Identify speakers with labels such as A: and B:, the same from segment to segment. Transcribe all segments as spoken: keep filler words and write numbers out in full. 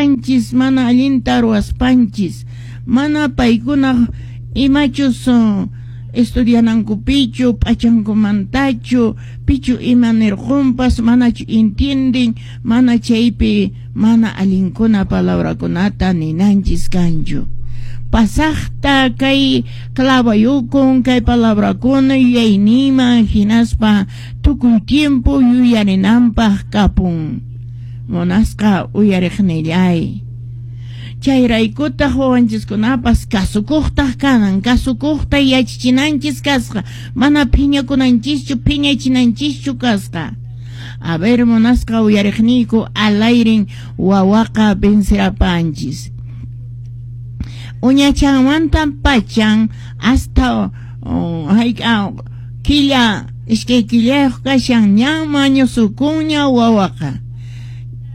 A: Ruwasqanchis mana allinta ruwaspanchis, mana paykuna imachus uh, estudianankupichu, p'achankumantachu, pichu ima nirqunpas, manachu entienden, mana chaypi mana allinkuna palabrakunata ninanchis kanchu. Pasaqta kay clavayukun kay palabrakuna yuyayninman hinaspa tukuy tiempo yuyarinanpaq kapun. Munasqa uyariqnillay. Chayraykutaq wawanchiskunapas kasukuqtaq kanan, kasukuqta yachachinanchis kasqa, mana phiñakunanchischu, phiñachinanchischu kasqa. A ver, munasqa uyariqniyku, alayrin wawaqa vencerapanchis. Uñachanmanta pachan hasta oh, hayk'a killa iskay killayuq kashan ñan mañusukunña wawaqa.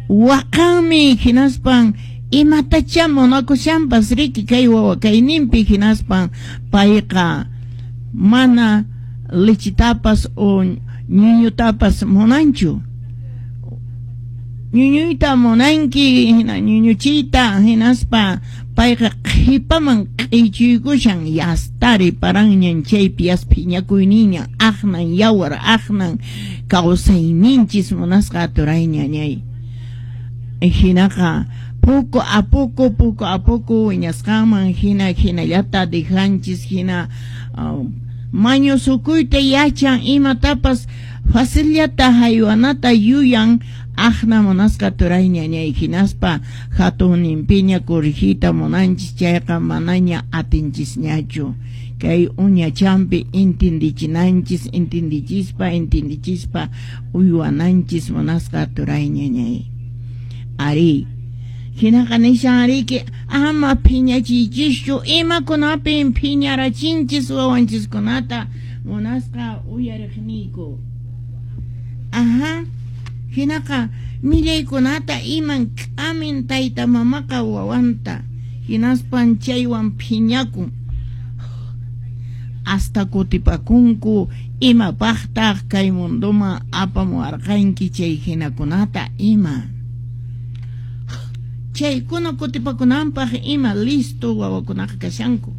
A: Waqanmi hinaspan imatacha munakushanpas riki kay wawa kayninpi hinaspan payqa mana lechitapas o ñuñutapas munanchu. Ñuñuyta munanki hina ñuñuchita hinaspa payqa qhipaman q'ichuykushan yastari paranñan chaypi yas phiñakuyniña aqnan yawar aqnan kawsayninchis munasqa turayñañay. Hinaqa poco a poco, poco a poco wiñasqanman hina hinallata dejanchis hina uh, mañusukuyta yachan imatapas facillata haywanata yuyan aqna munasqa turayñañay hinaspa hatunninpiña corregiyta munanchis chayqa manaña atinchisñachu. Kay uñachampi intindichinanchis, intindichispa, intindichispa uywananchis munasqa turayñañay. Ari, hinaqa nishan riki ama phiñachiychischu, imakunapin phiñarachinchis wawanchiskunata munasqa uyariqniyku. Ajá, hinaqa millaykunata iman k'amin tayta mamaqa wawanta, hinaspan chaywan phiñakun. Hasta kutipakunku imapaqtaq kay munduman apamuwarqanki chay hinakunata ima. Chaykuna kutipakunanpaq ima listo wawakunaqa kashanku.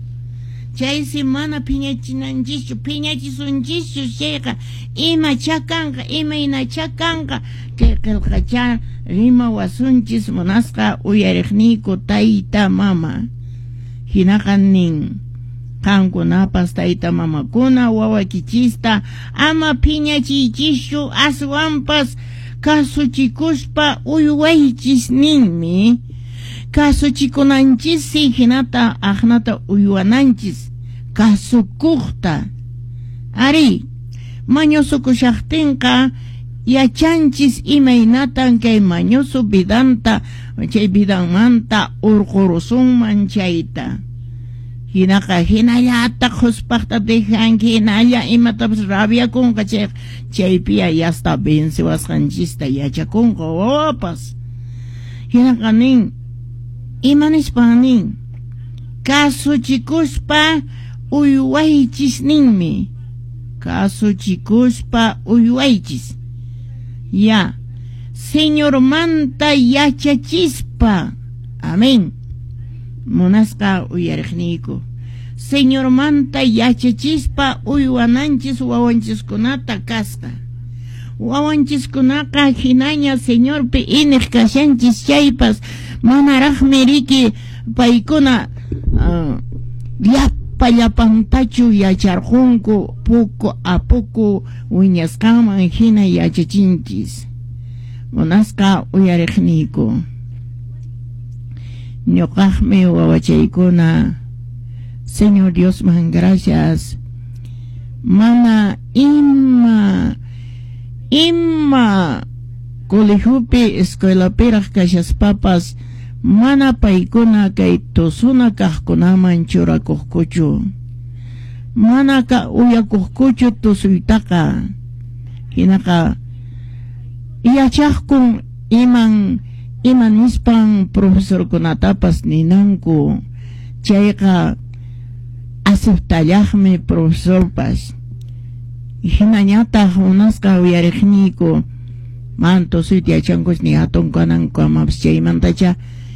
A: Chaysi mana phiñachinanchischu, phiñachisunchischu chayqa imacha kanqa, imaynacha kanqa kay qillqacha rimawasunchis munasqa uyariqniyku tayta mama. Hinaqa nin qankunapas tayta mamakuna wawakichista ama phiñachiychischu, aswanpas kasuchikuspa uywaychis ninmi. Kasuchikunanchissi hinata aqnata uywananchis kasukuqta. Ari, mañusukushaqtinqa yachanchis imaynatan kay mañusu vidanta chay vidanmanta urqurusunman chayta. Hinaqa hinallata quspaqta dejanki hinalla imatapas rabiakunqa chayqa chaypiya yasta venciwasqanchista yachakunqa wawapas. Hinaqa nin ima nispan nin kasuchikuspa uywaychis ninmi. Kasuchikuspa uywaychis. Ya, Señormanta yachachispa. Amén. Munasqa uyariqniyku. Señormanta yachachispa uywananchis wawanchiskunata kasqa. Wawanchiskunaqa hinaña Señorpi iniq kashanchis chaypas manaraqmi riki paykuna uh, llapa llapantachu yacharqunku poco a poco wiñasqanman hina yachachinchis. Munasqa uyariqniyku. Ñuqaqmi wawachaykuna Señor Diosman gracias. Mana ima ima colegiopi escuelapiraq kashaspapas mana paykuna kay tusuna kaqkunaman churakuqkuchu. Mana ka uyakuqkuchu tusuytaqa. Hinaqa yachaqkun iman ima nispan profesorkunatapas ninanku. Chayqa aceptallaqmi profesorpas. Hinañataq munasqa uyariqniyku man tusuyta yachankus ni hatun kananku amapas chaymantacha